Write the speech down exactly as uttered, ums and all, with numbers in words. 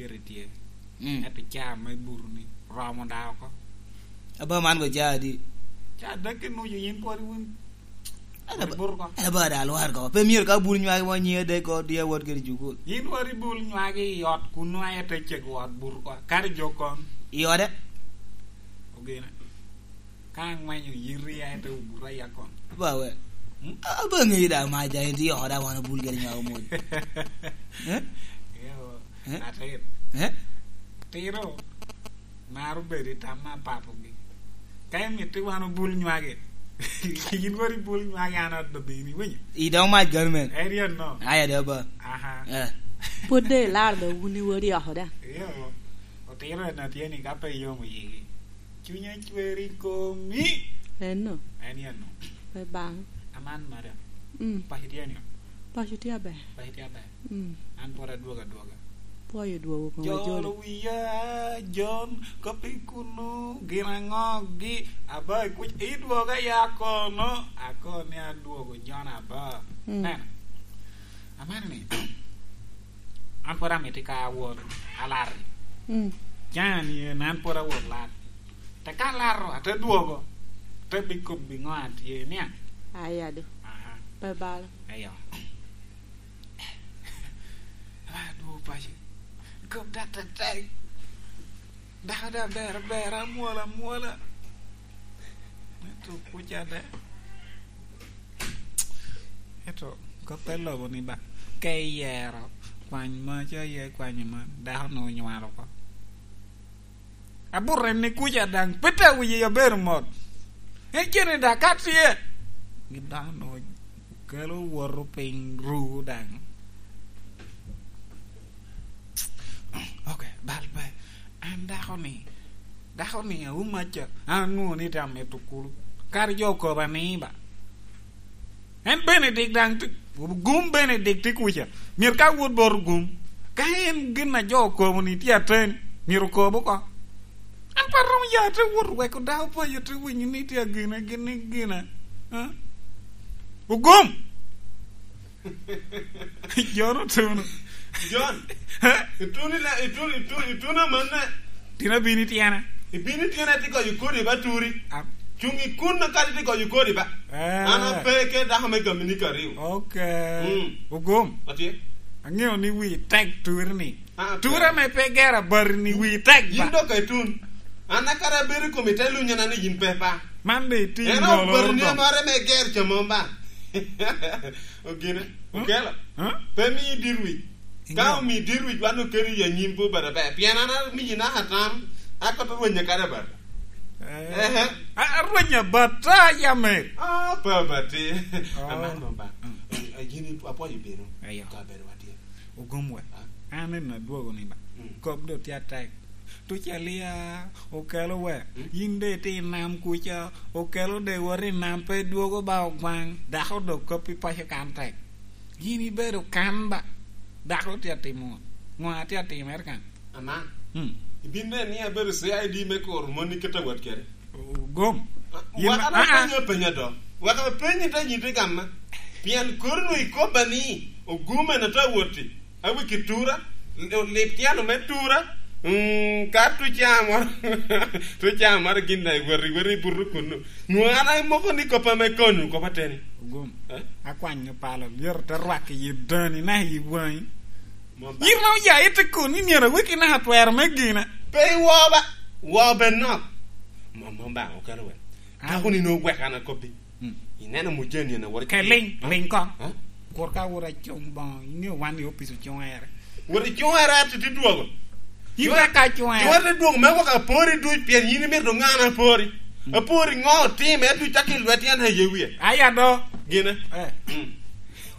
Giri tye. Mm. Ento caa me buru ni romo da oko. Aba man ko caa adi? Caa dek ki nucu yin pwod wun. Aba, aba da alwar ko. Pe myero ka bul nywagi mo nyiŋe dek ko, di awot kede cukul. Yin wari bul nywagi i ot kun nwa ete cego ot buru ko. Kadi jo kon. I ode? Ogene. Ka angwenyo yiti, a ete obuta ya kon. Ba we. Hmm? A, ba ŋeyi da ma ja en tye oko da wan obul kede nywako moni. Eh? Eyo, eh? Atir. Eh? Tiro. Maro bedo i tam me apapogi. Ka imito wan obul nywage, yin wari bul nywage an adobini, winyo? I dog mac gano men. Eri anno. Aya da ba. Aha. Eh. Pwod de ilar da wun i wari oko da. Eyo. Otiro en atye ni ka pe iyomo yigi. Cunya cwer i komi. Eno. En ya no. Pe bang. Aman, madam. Mm. Paco tye nio? Paco tye aber. Paco tye aber. Mm. An pwod adwogo adwoga. Pwoyo dwogo koŋ wajoli. Jolo wiya, Jon, kop i kunu, gin aŋogi, aba i kuc, idwoga ya kono, akono ni adwogo Jon aba. Mm. Neno. Aman ni, an pwod amito ka awot alar. Mm. Can ni en an pwod awot lar. Te ka laro, ate dwogo, te bikobbi ŋo a tye niaŋ. Aya do. Aha. Pe balo. Eyo. Aba adwogo paco. Kop da tek tek. Dako da ber ber, amwola amwola. Ento kuca de. Ento kop te lobo ni ba, ka iyero kwany maca, iye kwanyo man, dako nwoŋo onywalo oko. Abuto en ni kuca daŋ, pe te wiye abedo mot. En cene da ka tye. Gin dano okelo woto piny ru daŋ. Ok, bal pe. An dako ni, dako ni auma ca, an nwoŋo ni te amito kulu. Kadi jo okoba ni ba. En Benedik daŋ tye, gum Benedik tye kuca. Myero ka wot bot gum, ka en gin a jo okobo ni tye ateni, myero okob oko. An pe aromo ya te wot weko dako paco te winyo ni tye agina, gin ni gina. Ha? Ogum! Jon otuno. Jon, ituno ila-, ituno, ituno, ituno amanne. Tin abino i tyena. Ibino i tyena, iti goyo kodi ba turi. Am- Cuŋ i kun na kadi iti goyo kodi ba. Eh. An ape ke dako me gami ni kariu. Ok. Mm. Ogum. Atye. Aŋeo ni wi tek turi ni. Ah, tek. Tura me pe gera bari ni wi tek ba. Yin dok etun. An akara abedo i komi te lunya na ni yin pe pa. Man de iti. En ŋolo bari ni do. Amare me ger ca mom ba. Ogine. Hmm? Okelo. Hmm? Pe mi dir wic. Ka omi dir wic, wan okelo i anyim pe obed aber. Pien an amiyi naka tam, akoto rwenye kadi abat. Eh. Ehe. A, a rwenye abat, a, yam mer. Ah, pe abat ti. Oh. Aman mom ba. Mm. A, a, yin i-, apwoyo bino. Eyo. Ka bedo watye. Ogum we. Ah. An en adwogo ni ba. Mm. Kop do tye atek. Tucalia, okelo we. Mm. Yin de itye i nam kuca, okelo de wot i nam pe dwogo ba ogwaŋ. Dako do kop i paco kan tek. Yin ibedo kan ba, dako tye atimo ŋo? Ŋo a tye atimere kan? Aman. Hmm. Ibin neno ni abedo C I D me kuro moni kit awot kede? Ogum. Ah, yin wek ma-, an ah, ah. Apenyo apenya do. Wek apenyi te nyiti gamma. Pien kori nu ikobba ni, Ogum en ate awoti. Awiki tura, olip tyeno me tura. Mm, ka tuca moro, tuca moro gin na iwot, iwot i buto kunu. Nwoŋo an amoko ni kop ame konyo, kop ateni. Ogum. Eh? Akwanyo palo, myero te rwak i yi dani, na i waŋi. Mom ba. Yin ma oya ite kun ni myero aweki naka twero me gina. Pe iwo ba, wo ben nok. Mom, mom ba, okelo wel. Ah. Dako ni nwoŋo wek an akobbi. Mm. Ineno mujeni en awori. Ke ling, ah, ling kong. Ah? Kur ka wot acung boŋo, iŋeo wan i opic ocung ere. Wot icung ere, ati ti dwogo. Yin ka ka acung ere. Cwete dwogo me wok apori duc, pien yin imito ŋa an apori. Mm. Apori ŋo otime, duc cak i lwet yan aye wie. Aya do. Gine. Eh. Mm.